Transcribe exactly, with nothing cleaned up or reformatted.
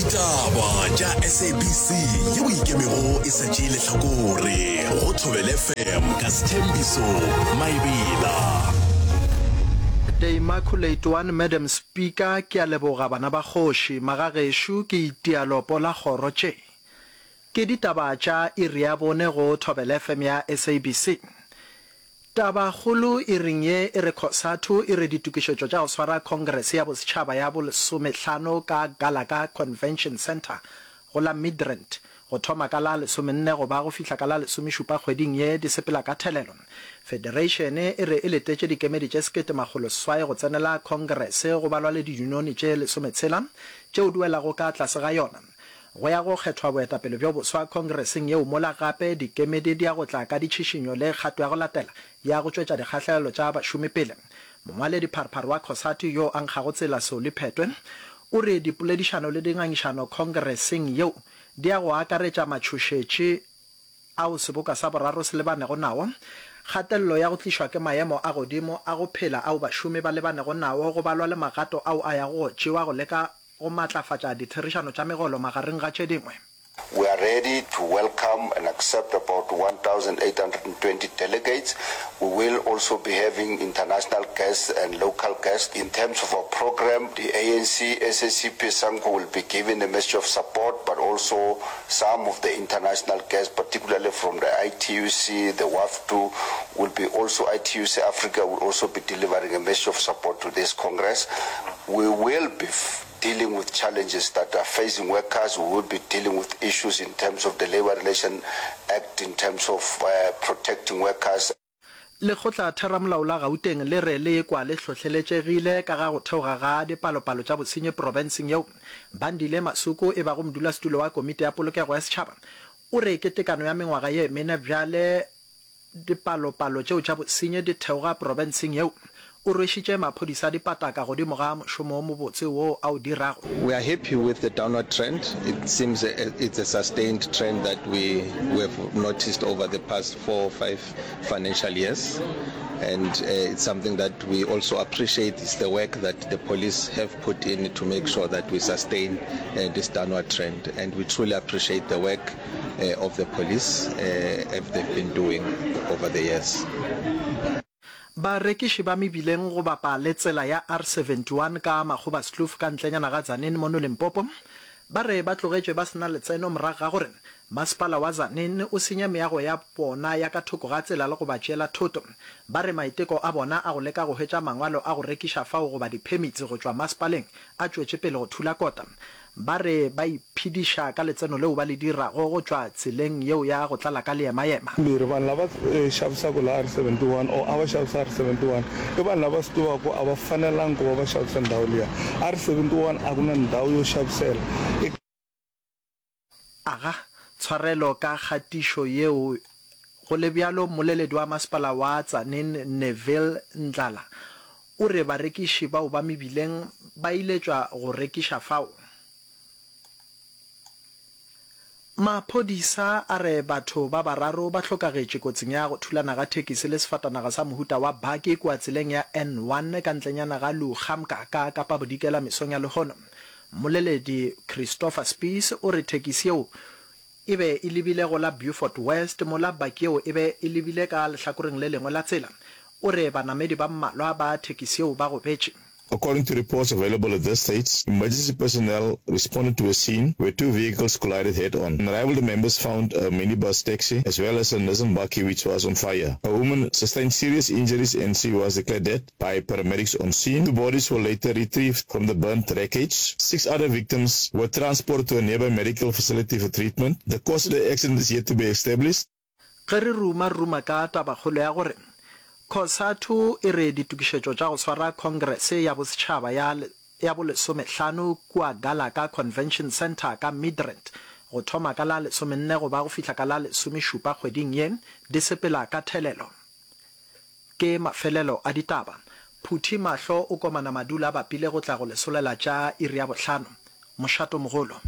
Ditaba tša S A B C yeo ikemego e sa tšee lehlakore go Thobela F M ka Sthembiso Maebela. The Immaculate One Madam Speaker, ke a leboga bana ba kgoši, magagešo ke itia lopo la kgoro tše. Ke ditaba tša iri ya bone go Thobela F M ya S A B C. Tabakgolo iring ye e re COSATU e re ditokišetšo tša go swara Congress ya Bosetšhaba ya bolesomehlano ka Gallagher Convention Centre go la Midrand go thoma ka la lesomenne go ba go fihla ka la lesomešupa kgweding ye di sepela ka thelelo. Federation e re e letetše dikemedi tše sekete makgolo seswai go tsenela Congress go balwa le diyunione tše lesometshela tšeo di welago ka tlase ga yona. Go ya go kgethwa boetapele bjo boswa Congresseng yeo mola gape dikemedi di ya go tla ka ditšhišinyo le kgato ya go latela ya go tšwetša dikgahlegelo tša bašomi pele. Mongwaledi pharephare wa COSATU yo a nkgago tsela Solly Phetoe o re dipoledišano le dingangišano Congresseng yeo di ya go akaretša matšhošetši ao seboka sa boraro se lebanego nao, kgatelelo ya go tlišwa ke maemo a godimo a go phela ao bašomi ba lebanego nao go balwa le magato ao a yago go tšewa go leka go matlafatša ditherišano tša megolo magareng ga tše dingwe. We are ready to welcome and accept about one thousand eight hundred twenty delegates. We will also be having international guests and local guests. In terms of our program, the A N C, S A C P, SANCO will be giving a message of support, but also some of the international guests, particularly from the I T U C, the WAFTU, will be also, I T U C Africa will also be delivering a message of support to this Congress. We will be dealing with challenges that are facing workers. We will be dealing with issues in terms of the Labor Relation Act, in terms of uh, protecting workers. Lekgotla theramolao la Gauteng le re le kwa le hlohleletšegile ka ga go theoga ga dipalopalo tša bosenyi profenseng yeo. Bandile Masuku e bago modulasetulo wa komiti ya polokego ya setšhaba o re ke tekano ya mengwaga ye mene bjale dipalopalo tšeo tša bosenyi di theoga profenseng yeo. O rwešitše maphodisa dipataka godimo ga mošomo wo mobotse wo a o dirago. We are happy with the downward trend. It seems it's a sustained trend that we, we have noticed over the past four or five financial years. And uh, it's something that we also appreciate is the work that the police have put in to make sure that we sustain uh, this downward trend. And we truly appreciate the work uh, of the police uh, as they've been doing over the years. Barekiši ba mebileng go bapa le tsela ya R seventy-one ka Magoebaskloof ka ntlenyana ga Tzaneen mono Limpopo ba re ba tlogetšwe ba se na letseno morago ga gore masepala wa Tzaneen o senye meago ya bona ya ka thoko ga tsela le go ba tšeela thoto. Ba re maiteko a bona a go leka go hwetša mangwalo a go rekiša fao goba di-permits go tšwa masepaleng a tšwetše pele go thula kota. Ba re ba iphediša ka letseno leo ba le dirago go tšwa tseleng yeo ya go tlala ka leemaema. Mbirhi, vanhu lava eh, xavisaka laha R seventy-one or a va xavisa R seventy-one i vanhu lava swi tivaka ku a va fanelangi ku va va xavisa ndhawu liya. R seventy-one a ku na ndhawu yo xavisela i. Aga tshwarelo ka kgatišo yeo. Go le bjalo, mmoleledi wa masepala wa Tzaneen Neville Ndlala o re barekiši bao ba mebileng ba iletšwa go rekiša fao. Maphodisa a re batho ba bararo ba hlokagetše kotsing ya go thulana ga thekisi le sefatanaga sa mohuta wa baki kua tseleng ya N one ka ntlenyana ga Lugamka ka Kapa Bodikela mesong ya lehono. Mmoleledi Christopher Spies o re thekisi yeo e be e lebile go la Beaufort West mola baki yeo e be e lebile ka lehlakoreng le lengwe la tsela. O re banamedi ba mmalwa ba thekisi yeo ba gobetše. According to reports available at this stage, emergency personnel responded to a scene where two vehicles collided head-on. On arrival, the members found a minibus taxi as well as a Nissan bakkie which was on fire. A woman sustained serious injuries and she was declared dead by paramedics on scene. Two bodies were later retrieved from the burnt wreckage. Six other victims were transported to a nearby medical facility for treatment. The cause of the accident is yet to be established. Ge re ruma ruma ka tabakgolo ya gore COSATU e re ditokišetšo tša go swara Congress ya Bosetšhaba ya ya bolesomehlano kua Gallagher Convention Centre ka Midrand go thoma ka la lesomenne go ba go fihla ka la lesomešupa kgweding ye di sepela ka thelelo. Ke mafelelo a ditaba. Phuthi mahlo o komana madula a bapile go tla go lesolela tša iri ya bohlano. Mošato mogolo.